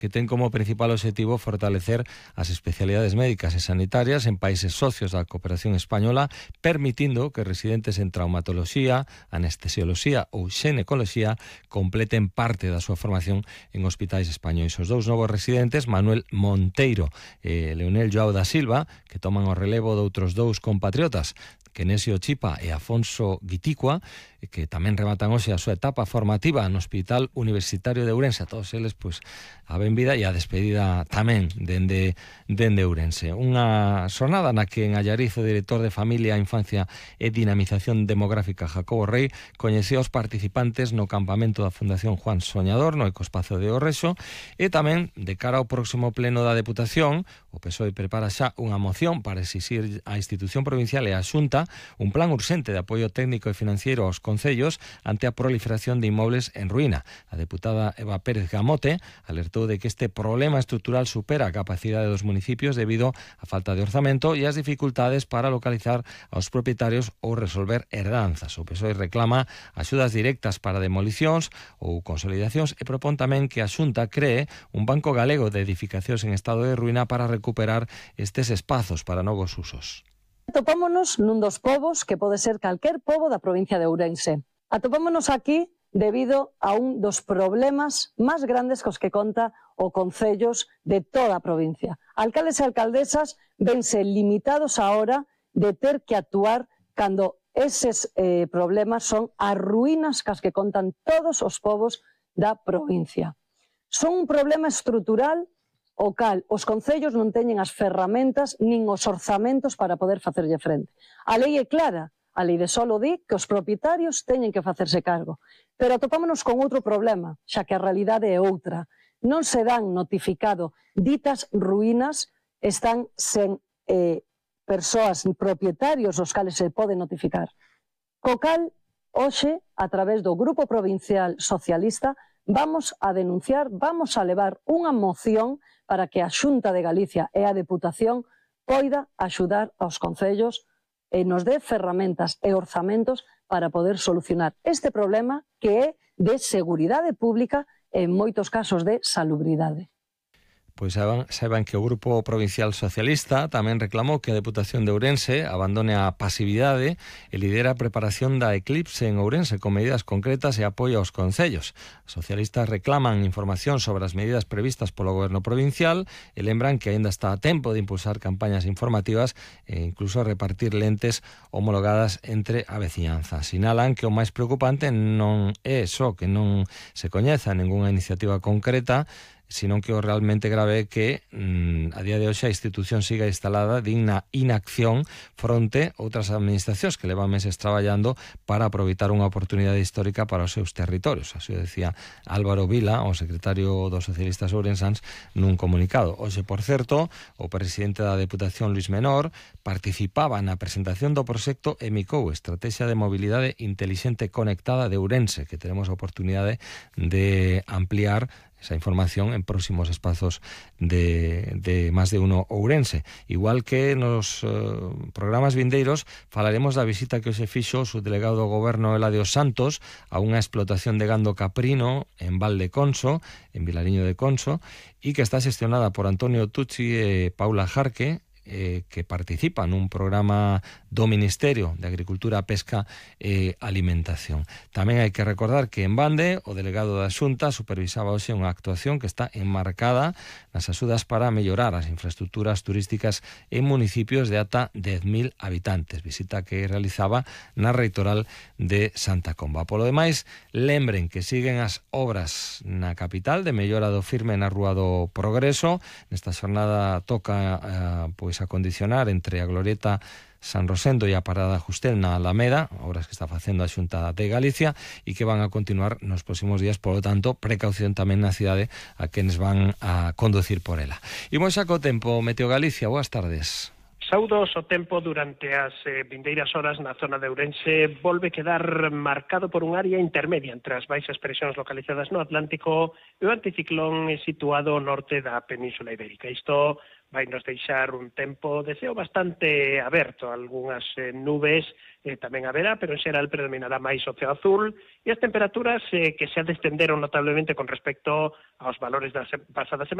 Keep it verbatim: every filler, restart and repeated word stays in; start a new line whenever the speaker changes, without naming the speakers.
que ten como principal objetivo fortalecer as especialidades médicas e sanitarias en países socios da cooperación española, permitindo que residentes en traumatoloxía, anestesioloxía ou xenecoloxía completen parte da súa formación en hospitais españois. Os dous novos residentes, Manuel Monteiro e Leonel Joao da Silva, que toman o relevo de outros dous compatriotas, Kenesio Chipa e Afonso Guiticua, que tamén rematan hoxe a súa etapa formativa no Hospital Universitario de Ourense. A todos eles, pois, a benvida e a despedida tamén dende, dende Ourense. Unha xornada na que en Allariz o director de Familia, Infancia e Dinamización Demográfica Jacobo Rei coñeceu os participantes no campamento da Fundación Juan Soñador no Ecospazo de Orrexo, e tamén de cara ao próximo pleno da Deputación, o P S O E prepara xa unha moción para exixir á institución provincial e á Xunta un plan urxente de apoio técnico e financiero aos concellos ante a proliferación de inmobles en ruína. A deputada Eva Pérez Gamote alertou de que este problema estrutural supera a capacidade dos municipios debido á falta de orzamento e as dificultades para localizar aos propietarios ou resolver herdanzas. O P S O E reclama axudas directas para demolicións ou consolidacións e propón tamén que a Xunta cree un banco galego de edificacións en estado de ruína para recuperar estes espazos para novos usos.
Atopámonos nun dos povos que pode ser calquer pobo da provincia de Ourense. Atopámonos aquí debido a un dos problemas máis grandes cos que conta o concellos de toda a provincia. Alcaldes e alcaldesas vense limitados ahora de ter que actuar cando eses eh, problemas son as ruínas cas que contan todos os povos da provincia. Son un problema estrutural o cal os concellos non teñen as ferramentas nin os orzamentos para poder facerlle frente. A lei é clara, a lei de solo di que os propietarios teñen que facerse cargo, pero atopámonos con outro problema, xa que a realidade é outra. Non se dan notificado ditas ruínas, están sen eh, persoas propietarios os cales se poden notificar. Co cal, hoxe, a través do Grupo Provincial Socialista, vamos a denunciar, vamos a levar unha moción para que a Xunta de Galicia e a Deputación poida axudar aos concellos e nos dé ferramentas e orzamentos para poder solucionar este problema que é de seguridade pública e en moitos casos de salubridade.
Pois saiban, saiban que o Grupo Provincial Socialista tamén reclamou que a Deputación de Ourense abandone a pasividade e lidera a preparación da eclipse en Ourense con medidas concretas e apoio aos concellos. Os socialistas reclaman información sobre as medidas previstas polo Goberno Provincial e lembran que aínda está a tempo de impulsar campañas informativas e incluso repartir lentes homologadas entre a veciñanza. Sinalan que o máis preocupante non é só que non se coñeza ningunha iniciativa concreta, sino que o realmente grave é que mmm, a día de hoxe a institución siga instalada digna inacción fronte a outras administracións que levan meses traballando para aproveitar unha oportunidade histórica para os seus territorios. Así decía Álvaro Vila, o secretario dos socialistas ourensáns, nun comunicado. Hoxe, por certo, o presidente da Deputación, Luis Menor, participaba na presentación do proxecto EMICOU, Estrategia de Mobilidade Intelixente Conectada de Ourense, que teremos a oportunidade de ampliar esa información en próximos espazos de, de máis de uno Ourense. Igual que nos eh, programas vindeiros falaremos da visita que se fixo o subdelegado do Goberno Eladio Santos a unha explotación de gando caprino en Val de Conso, en Vilariño de Conso, e que está xestionada por Antonio Tucci e Paula Jarque, Eh, que participa nun programa do Ministerio de Agricultura, Pesca e Alimentación. Tamén hai que recordar que en Bande o delegado da Xunta supervisaba hoxe unha actuación que está enmarcada nas axudas para mellorar as infraestructuras turísticas en municipios de ata dez mil habitantes, visita que realizaba na reitoral de Santa Comba. Polo demais, lembren que siguen as obras na capital de mellora do firme na Rúa do Progreso. Nesta xornada toca eh, pois a condicionar entre a Glorieta San Rosendo e a Parada Justel na Alameda, obras que está facendo a Xunta de Galicia e que van a continuar nos próximos días, polo tanto, precaución tamén na cidade a quenes van a conducir por ela. Imos xa co tempo. Meteo Galicia, boas tardes.
Saudos, o tempo durante as eh, vindeiras horas na zona de Ourense volve quedar marcado por un área intermedia entre as baixas presións localizadas no Atlántico e o anticiclón situado ao norte da Península Ibérica. Isto vai nos deixar un tempo de ceo bastante aberto, algunhas eh, nubes eh, tamén haberá, pero en xeral predominará máis o ceo azul, e as temperaturas eh, que se descenderon notablemente con respecto aos valores da se pasada semana,